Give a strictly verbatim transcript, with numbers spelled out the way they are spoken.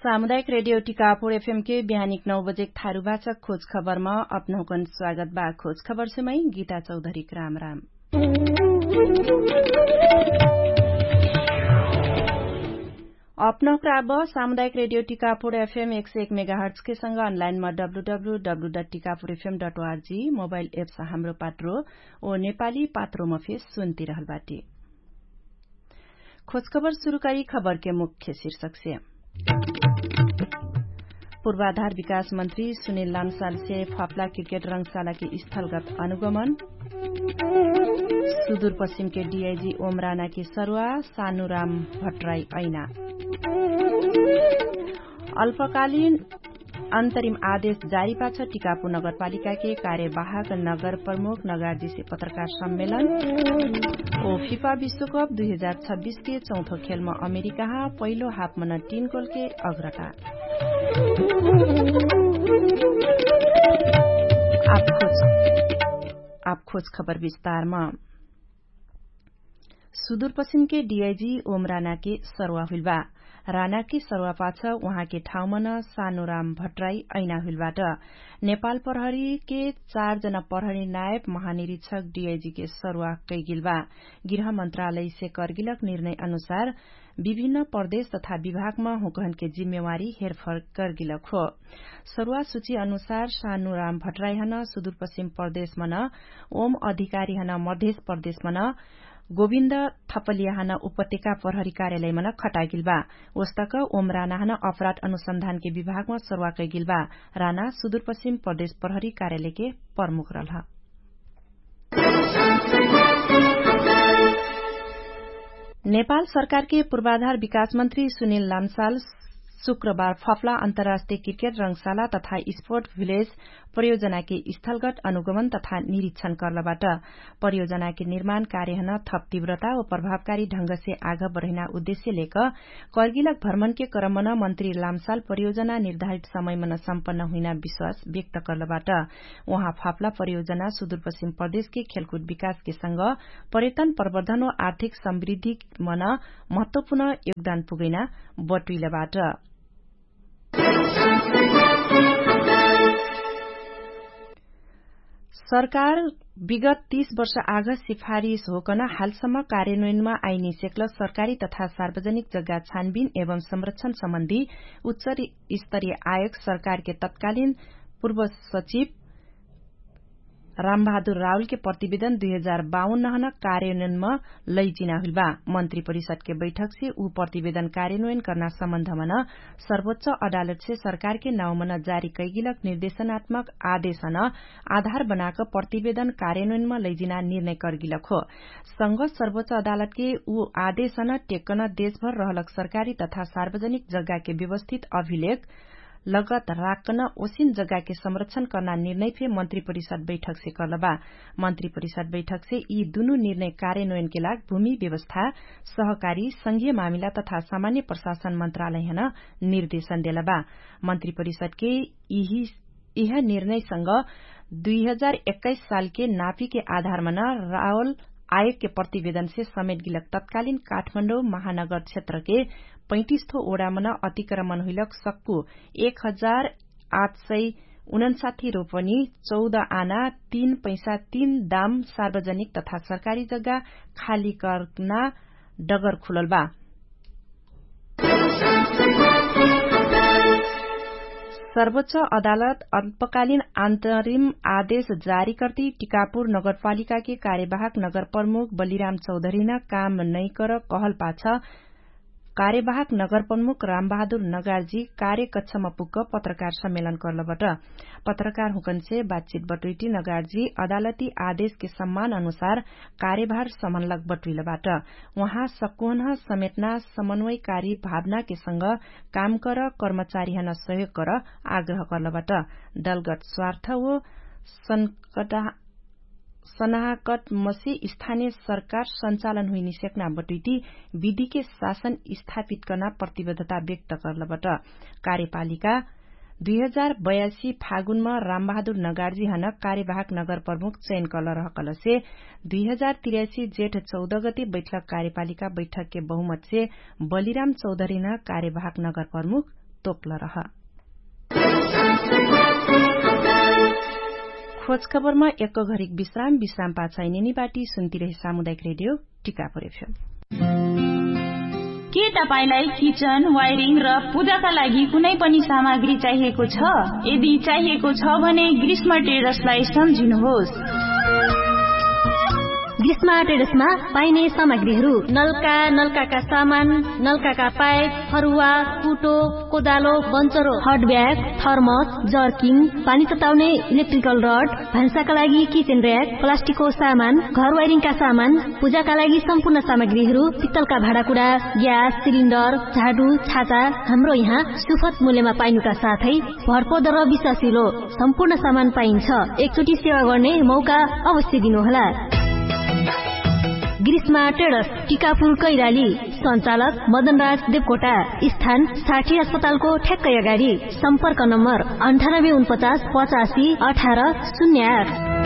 सामुदायिक रेडियो टिकापुर एफएम के बिहानिक नौ बजेक थारु भाषा खोज खबरमा अपनहुकन स्वागत बा। खोज खबर से मै गीता चौधरीक राम राम। अपनहुकरा अब सामुदायिक रेडियो टिकापुर एफएम एक सय एक मेगाहर्ट्सके संग अनलाइनमा W W W dot Tikapur FM dot ORG mobile apps Hamro Patro ओ नेपाली पात्रोमा फेर सुन्तिरहल बाटी। खोजखबर सुरु करी खबरके मुख्य शीर्षकसे। पूर्वाधार विकास मन्त्री सुनिल लामसालसे फाप्ला क्रिकेट रंगशालाके स्थलगत अनुगमन। सुदूरपश्चिमके डिआइजी ओमरानाके सरुवा सानुराम भट्टराई ऐना। अल्पकालीन अन्तरिम आदेश जारी पाछ टिकापु नगरपालिकाके कार्यवाहक नगर प्रमुख नगार्जीसे पत्रकार सम्मेलन। ओ फिफा विश्वकप दुई हजार छब्बिसके चौथो खेलमा अमेरिकाहा पहिलो हाफमन तीन गोलके अग्रता। आप खोज खबर विस्तारमा। सुदूरपश्चिमके डिआइजी ओम रानाके सरुवा हुइलबा। रानाके सरुवापाछ उहाँके ठाउँमन सानुराम भट्टराई ऐना हुइलबाट। नेपाल प्रहरीके चार जना प्रहरी नायब महानिरीक्षक डिआइजीके सरुवा कैगिलबा। गृह मन्त्रालयसे कर्गिलक निर्णय अनुसार विभिन्न प्रदेश तथा विभागमा हुँकहनके जिम्मेवारी हेरफर कर्गिलक हो। सरुवा सुची अनुसार सानुराम भट्टराईहन सुदूरपश्चिम प्रदेशमन ओम अधिकारीहन मधेश प्रदेशमन गोविन्द थपलियाहन उपत्यका प्रहरी कार्यालयमन खटागिलबा। ओस्तक ओम रानाहन अपराध अनुसन्धानके विभागमा सरुवा कैगिलबा। राना सुदूरपश्चिम प्रदेश प्रहरी कार्यालयके प्रमुख रहलह। नेपाल सरकारके पूर्वाधार विकास मन्त्री सुनिल लामसाल शुक्रबार फफला अन्तर्राष्ट्रिय क्रिकेट रंगशाला तथा स्पोर्ट भिलेज परियोजनाके स्थलगट अनुगमन तथा निरीक्षण कर्लबाट। परियोजनाके निर्माण कार्यहन थप तीव्रता व प्रभावकारी ढंगसे आघ बढैना उद्देश्य लेक कर्गिलक भ्रमणके क्रमन मन्त्री लामसाल परियोजना निर्धारित समयमन सम्पन्न हुइना विश्वास व्यक्त कर्लबाट। उहाँ फाप्ला परियोजना सुदूरपश्चिम प्रदेशके खेलकुद विकासके संग पर्यटन प्रवर्धन व आर्थिक समृद्धिमन महत्वपूर्ण योगदान पुगैना बटुइलबाट। सरकार विगत तीस वर्ष आघ सिफारिस होकन हालसम्म कार्यान्वयनमा आइनिसेक्ल सरकारी तथा सार्वजनिक जग्गा छानबिन एवं संरक्षण सम्बन्धी उच्च स्तरीय आयोग सरकारके तत्कालीन पूर्व सचिव रामबहादुर राहुलके प्रतिवेदन दुई हजार बाउन्न हन कार्यान्वयनमा लैजिना हुइलबा। मन्त्री परिषदके बैठकसे उ प्रतिवेदन कार्यान्वयन कर्ना सम्बन्धमन सर्वोच्च अदालतसे सरकारके नाउँमन जारी कैगिलक निर्देशनात्मक आदेशन आधार बनाक प्रतिवेदन कार्यान्वयनमा लैजिना निर्णय कर्गिलक हो। संग सर्वोच्च अदालतके उ आदेशन टेक्कन देशभर रहलक सरकारी तथा सार्वजनिक जग्गाके व्यवस्थित अभिलेख लगत राक्कन ओसिन जग्गाके संरक्षण कर्ना निर्णय फे मन्त्री परिषद बैठकसे कर्लबा। मन्त्री परिषद बैठकसे यि दुनु निर्णय कार्यान्वयनके लाग भूमि व्यवस्था, सहकारी संघीय मामिला तथा सामान्य प्रशासन मन्त्रालयहन निर्देशन देलबा। मन्त्री परिषदके यि इह निर्णयसँग दुई हजार एक्काइस सालके नापीके आधारमन रावल आयोगके प्रतिवेदनसे समेटगिलक तत्कालीन काठमाडौं महानगर क्षेत्रके पैतिस थो ओडामन अतिक्रमण हुइलक सक्कु एक हजार आठ सय उनन्साठी रोपनी चौध आना तीन पैसा तीन दाम सार्वजनिक तथा सरकारी जग्गा खाली कर्ना डगर खुलल बा। सर्वोच्च अदालत अल्पकालीन अन्तरिम आदेश जारी कर्ति टिकापुर नगरपालिकाके कार्यवाहक नगरप्रमुख बलिराम चौधरीन काम नैकर कहलपाछ कार्यवाहक नगरप्रमुख रामबहादुर नगार्जी कार्यकक्षमा पुग्क पत्रकार सम्मेलन कर्लबट। पत्रकार हुँकन्से बातचित बटुइटी नगार्जी अदालती आदेशके सम्मान अनुसार कार्यभार सम्हनलक बटुइलबाट। उहाँ सक्कुहन्ह समेटना समन्वयकारी भावनाके संग कामकर कर्मचारीहन सहयोग कर आग्रह कर्लबाट। दलगत स्वार्थ ओ सन्नाहकट मसे स्थानिय सरकार सञ्चालन हुइनिसेक्ना बटुइटी विधिके शासन स्थापित कर्ना प्रतिबद्धता व्यक्त कर्लबट। कार्यपालिका दुई हजार बयासी फागुनमा रामबहादुर नगार्जीहन कार्यवाहक नगरप्रमुख चयन कलरहकलसे दुई हजार तिरासी जेठ चौध गति बैठक कार्यपालिका बैठकके बहुमतसे बलिराम चौधरीन कार्यवाहक नगरप्रमुख तोपल रह। खोजखबरमा एक घरिक विश्राम विश्राम पाछाइ नेनी बाटी सुन्तिरहे सामुदायिक रेडियो टिकापुर एफएम। के तपाईंलाई किचन वायरिङ र पूजाका लागि कुनै पनि सामग्री चाहिएको छ? यदि चाहिएको छ भने ग्रीष्म ट्रेडर्सलाई सम्झिनुहोस्। ग्रीष्म ट्रेडर्समा पाइने सामग्रीहरू नल्का नल्काका सामान, नल्काका पाइप, फरुवा, कुटो, कोदालो, बन्चरो, हट ब्याग, थर्मस, जर्किङ, पानी तताउने, इलेक्ट्रिकल रड, भान्साका लागि किचेन र्याक, प्लास्टिकको सामान, घर वायरिङका सामान, पूजाका लागि सम्पूर्ण सामग्रीहरू, पित्तलका भाँडाकुडा, ग्यास सिलिन्डर, झाडु, छाता, हाम्रो यहाँ सुफत मूल्यमा पाइनुका साथै भरपर्दो र विश्वासिलो सम्पूर्ण सामान पाइन्छ। एकचोटि सेवा गर्ने मौका अवश्य दिनुहोला। ग्रीष्मा ट्रेडर्स, टिकापुर कैराली। सञ्चालक मदनराज देवकोटा। स्थान साठी अस्पतालको ठ्याक्कै अगाडि। सम्पर्क नम्बर अन्ठानब्बे उनपचास पचासी अठार शून्य आठ।